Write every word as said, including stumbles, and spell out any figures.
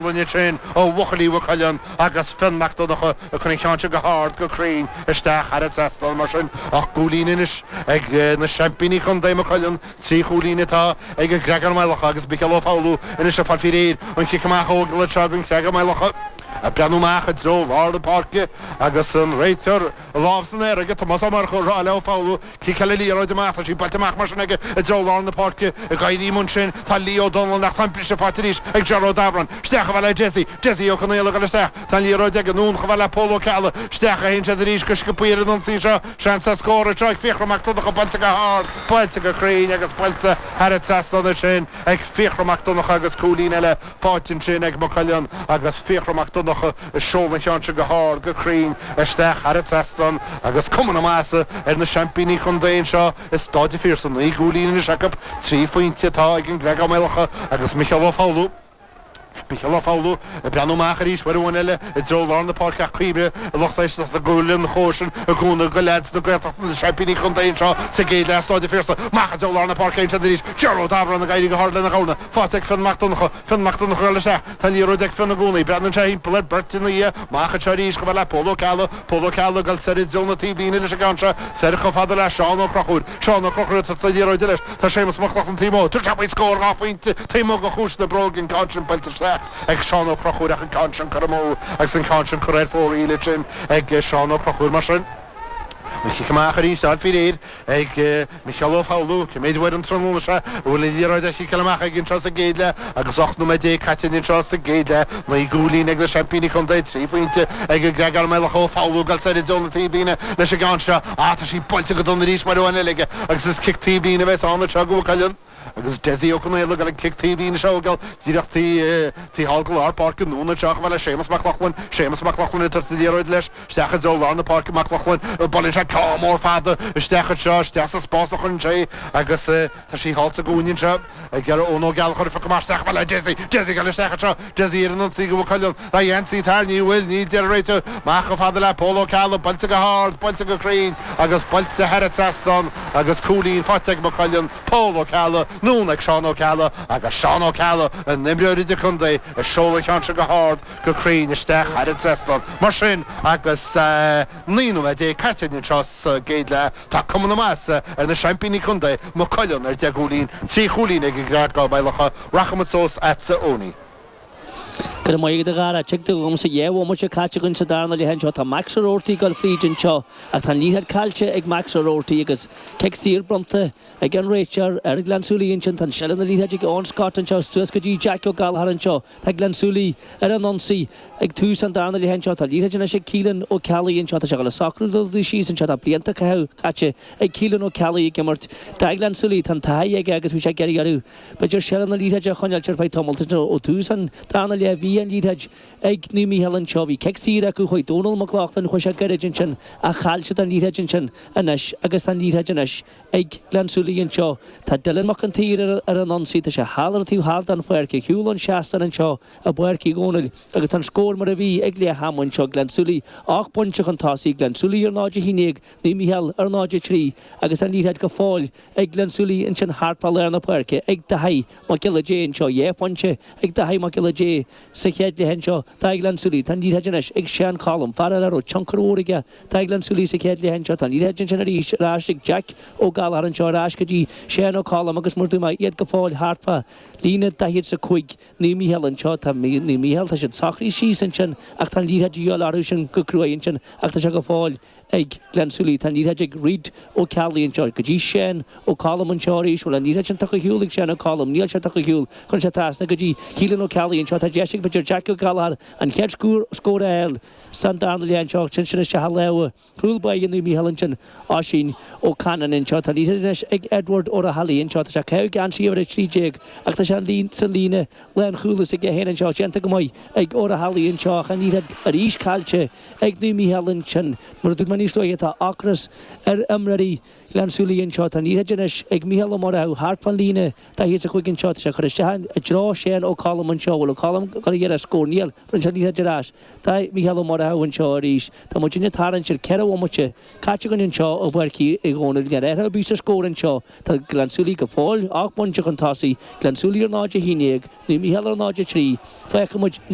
Sin ó bhuachaillí Mhaigh Cuilinn agus Fionn Mac Donncha ag cur an cheann seo go hard go cruinn isteach thar an trasnán. Mar sin ocht gcúilín anois ag na seaimpíní contae Maigh Cuilinn, trí chúilín atá ag an gCreagán Maigh Locha agus Micheál Ó Foghlú anois ag fáil faoi réir an chic amach a thógáil anseo don Chreagán Maigh Locha. Ag breathnú amach i dtreo lár na páirce agus an réiteoir lámh san aer aige, Tomás Ó Murchú, ag rá le Ó Foghlú, Ciceáil an liathróid amach. Tá sí buailte amach mar sin aige i dtreo lár na páirce. Ag éirí ansin tá Leo O'Donnell ach tá an briseadh faighte arís ag Ger Ó Dabhráin. Isteach chomh fada le Dessie. Dessie Ó Conaola ag dul isteach. Tá an liathróid aige anonn chomh fada le Pól Ó Ceallaigh. Isteach a théann siad arís go sciobtha ar an ionsaí seo. Seans ar scór anseo ag Fiachra Mac Donncha buailte go hard, buailte go cruinn agus buailte thar an trasnán ansin ag Fiachra Mac Donncha agus cúilín eile faighte ansin ag Maigh Cuilinn agus Fiachra Mac Donncha ag seoladh an cheann seo go hard go cruinn isteach thar an trasnán agus cuma na maitheasa ar na seaimpíní contae anseo i Staid an Phiarsaigh. Naoi gcúilín anois acu, trí phointe atá ag an gCreagán Maigh Locha agus Micheál Ó Foghlú. Micheál Ó Foghlú ag breathnú amach arís uair amháin eile i dtreo lár na páirce ach cuimhnigh a lucht éisteachta go bhfuil an chóir sin i gcónaí do leaids na Gaeltachta na seaimpíní contae anseo sa gcéad leath Staid an Phiarsaigh. Amach i dtreo lár na páirce ansin arís Ger Ó Dabhráin ag éirí go hard lena dhorna. Faighte ag Fionn Mac Donncha. Fionn Mac Donncha ag dul isteach. Tá an liathróid ag Fionn i gcónaí. Breathnaíonn sé thimpeall ar bheirt ina dhiaidh. Amach anseo arís chomh fada le Pól Ó Ceallaigh. Pól Ó Ceallaigh ag dul soir i dtreo na taobhlíne leis an gceann seo. Soir chomh fada le Seán Ó Conchúir. Seán Ó Conchúir ag tabhairt an liathróid leis. Tá Séamus Mac Lochlainn taobh amuigh. Tá sé faoi scór dhá phointe taobh amuigh de chuas na bróige an ceann sin buailte isteach ag Seán Ó Conchúir ach an ceann sin curtha amú agus an ceann sin curtha ar fóraoil ansin ag Seán Ó Conchúir. Mar sin, an chic amach arís á fháil faoi réir ag Micheál Ó Foghlú. Cé mhéad uair an tráthnóna seo a bhfuil an liathróid á chiceáil amach aige anseo sa gcéad leath agus ocht nóiméad déag caite anseo sa gcéad leath. Naoi gcúilín ag na seaimpíní contae, trí phointe ag an gCreagán Maigh Locha. Ó Foghlú ag dul soir i dtreo na taobhlíne leis an gceann seo. Á, tá sí buailte go dona arís uair amháin eile aige agus is cic taobhlíne a bheas ann anseo do Mhaigh Cuilinn. Agus Dessie Ó Conaola ag dul an cic taobhlíne seo a thógáil díreach taobh thall de lár páirce anonn anseo chomh fada le Séamus Mac Lochlainn. Séamus Mac Lochlainn ag tabhairt an liathróid leis isteach i dtreo lár na páirce. Mac Lochlainn, buaileann sé ceann mór fada isteach anseo, isteach sa spás a chuireann sé agus tá sí thall sa gcúinne anseo ag Eoin Ó Gallchóir ag phiocadh amach isteach chomh fada le Dessie. Dessie ag dul isteach anseo. Dessie ar an ionsaí do Mhaigh Cuilinn. Tá ionsaí tar, ní bhfuil, níl deir an réiteoir. Amach chomh fada le Pól Ó Ceallaigh, buailte go hard, buailte go cruinn agus buailte thar an trasnán agus cúilín faighte ag Maigh Cuilinn. Pól Ó Ceallaigh, anonn ag Seán Ó Ceallaigh agus Seán Ó Ceallaigh, an imreoir idirchontae, ag seoladh an cheann seo go hard, go cruinn isteach thar an trasnán. Mar sin, agus naoi nóiméad déag caite anseo sa gcéad leath, tá cuma na maitheasa ar na seaimpíní contae, Maigh Cuilinn, ar deich gcúilín, trí chúilín ag an gCreagán Maigh Locha. Rachaimid suas agatsa, Owenie. Go raibh maith agat a Dhara. Tuigtear dhomsa dhá bhomaite caite againn sa darna leath anseo. Tá Max O'Rourty ag dul fríd anseo ach tá an liathróid caillte ag Max O'Rourty agus cic saor bronnta ag an réiteoir ar Ghleann tSúilí ansin. Tá seilbh na liathróide ag Eoin Scott anseo suas go dtí Jack Ó Gallchóir anseo. Tá Gleann tSúilí ar an ionsaí ag tús an darna leath anseo. Tá liathróid anois ag Keelan Ó Ceallaigh anseo. Tá sé ag dul ag socrú dul síos anseo. Tá blianta caite ag Keelan Ó Ceallaigh ag imirt do Ghleann tSúilí. Tá an taithí aige agus bhí sé ag iarraidh orthu b'fhéidir seilbh na liathróide a choinneáil ar feadh tamaill ó tús an darna leath. Bhí an liathróid ag Naomh Mícheál anseo. Bhí cic saor acu chuaigh Dónal Mac Lochlainn chuaigh sé gairid ansin ach chaill siad an liathróid ansin anois agus tá an liathróid anois ag Gleann tSúilí anseo. Tá Dylan Mac an tSaoir ar an ionsaí. Tá sé thall ar an taobh thall den pháirc ar shiúl ón seastán anseo i bPáirc Uí Dhónaill agus tá an scór mar a bhí ag leath ama anseo. Gleann tSúilí ocht bpointe chun tosaigh, Gleann tSúilí ar náid a haon déag, Naomh Mícheál ar náid a trí agus an liathróid go fóill ag Gleann tSúilí ansin thart fá lár na páirce ag Daithí Mac Giolla Dé anseo. Dhá phointe ag Daithí Mac Giolla Dé sa chéad leath anseo do Ghleann tSúilí. Tá an liathróid anois ag Seán Colm, fear eile a raibh tionchar mhór aige do Ghleann tSúilí sa chéad leath anseo. Tá an liathróid ansin arís ar ais ag Jack Ó Gallchóir anseo ar ais go dtí Seán Ó Colm agus mar dúirt mé iad go fóill thart fá líne daichead is a cúig Naomh Mícheál anseo. Tá Naomh Mícheál, tá siad socraithe síos ansin ach tá an liathróid de dhíobháil orthu sin go cruaidh ansin ach tá sé go fóill ag Gleann tSúilí. Tá an liathróid ag Reid Ó Ceallaigh anseo go dtí Seán Ó Colm anseo arís. Bhfuil an liathróid sin tugtha ar shiúl ag Seán Ó Colm? Níl sé tugtha ar shiúl. Chuir sé trasna go dtí Keelan Ó Ceallaigh anseo. Tá deis ag b'fhéidir Jack Ó Gallchóir an chéad scór a fháil san darna leath anseo. Sin sin isteach i lámha cúl báire Naomh Mícheál ansin Oisín Ó Canann anseo. Tá an liathróid anois ag Edward Ó Raghallaigh anseo. Tá sé ag caitheamh geansaí uimhir a trí déag ach tá sé sa líne lánchúil aige féin anseo. Déanta go maith ag Ó Raghallaigh anseo ach an liathróid arís caillte ag Naomh Mícheál ansin. Mar a dúirt mé níos luaithe tá ocras ar imreoirí Ghleann tSúilí anseo. Tá an liathróid anois ag Mícheál Ó Murchú thart fán líne daichead is a cúig anseo. Tá sé curtha isteach i dtreo Shane Ó Colm anseo. Bhfuil Ó Colm ag dul a iarraidh scór? Níl. Bhronn sé an liathróid ar ais do Mhícheál Ó Murchú anseo arís. Tá muidinne ag tarraingt ar ceithre bhomaite caite againn anseo i bPáirc Uí Dhónaill. Níl athrú ar bith sa scór anseo. Tá Gleann tSúilí go fóill ocht bpointe chun tosaigh. Gleann tSúilí ar náid a haon déag, Naomh Mícheál ar náid a trí. Féachfaidh muid le.